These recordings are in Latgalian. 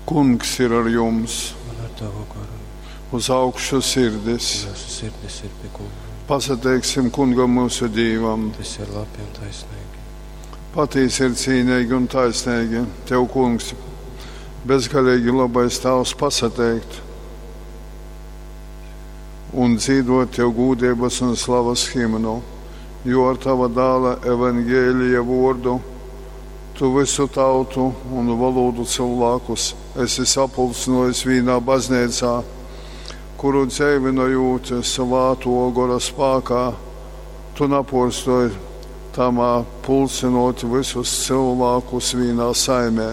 Kungs ir ar jums! Un ar tavu goru. Uz augšu sirdis! Mūsu sirdis ir pie Kunga. Pasateiksim Kungam mūsu Dīvam! Tas ir labi un taisnīgi. Patīsi ir cīnīgi un taisnīgi. Tev, Kungs, bezgalīgi labais Tavs pasateikt un dzīvot Tev gūdības un slavas himnu, jo ar Tava dāla evangēlija vordu Tu visu tautu un valodu cilvēkus esi sapulcinojis vīnā baznīcā, kuru dzeivinojot svāto gora spākā, tu napurstoj tamā pulcinot visus cilvēkus vīnā saimē.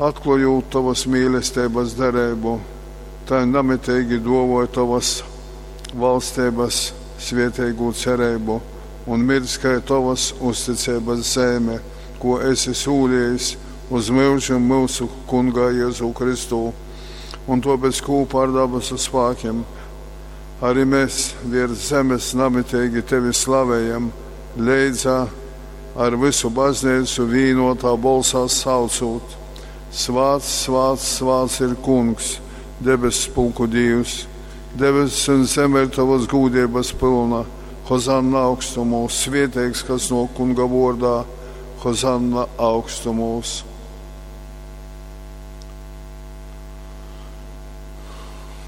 Atklājot tavas mīlestības derību, tai namitīgi dovoja tavas valstības svietēgo cerību un mirdz kai tavas uzticības zeme, ko esi sūlījis uz mūžu mūsu kungā Jēzu Kristu. Un tāpēc kopā ar dabasu spēkiem arī mēs virs zemes namitīgi tevi slavējam, leidzā ar visu baznīcu vīnotā bolsā saucot. Svāts, svāts, svāts ir kungs, debesu pulku Dievs, debesis un zeme ir tavas gūdības pilna. Hozanna augstumos, svieteigs, kas no kunga vordā, Hozanna augstumos.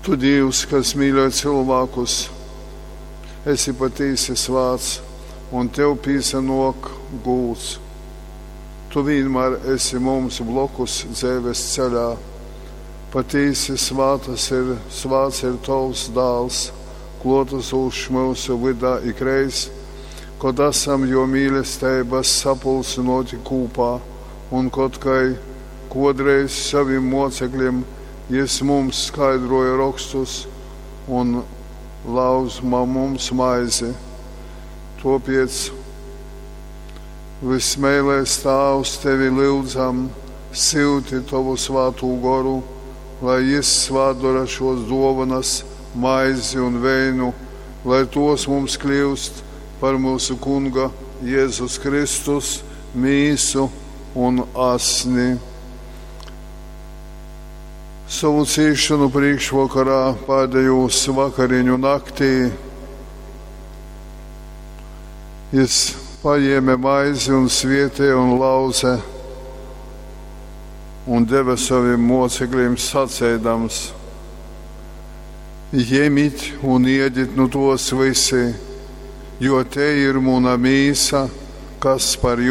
Tu Dievs, kas mīļo cilvēkus, esi patīsi svāts, un tev pīsanok gūts. Tu vienmēr esi mums blokus dzīves ceļā. Patīsi svātas ir, svāts ir tavs dāls, klotasūšs mūsu vydā ikreiz, kod esam jo mīlestības sapulcinoti kūpā, un kod kai kodreiz saviem mocekļiem jis mums skaidroja rakstus un lauzma mums maizi. Topiec vismēlēs Tāvs tevi lūdzam, silti tavu svātū goru, lai jis svādara šos dovanas, maizi un veinu, lai tos mums kļūst par mūsu kunga Jēzus Kristus mīsu un asni. Savu cīšanu priekšvakarā pēdējos vakariņu naktī jis paņēma maizi un svietēja un lauze un deva saviem mocekļiem sacēdams: Ņemiet un iediet nu tos visi, jo te ir muna mīsa, kas par jums.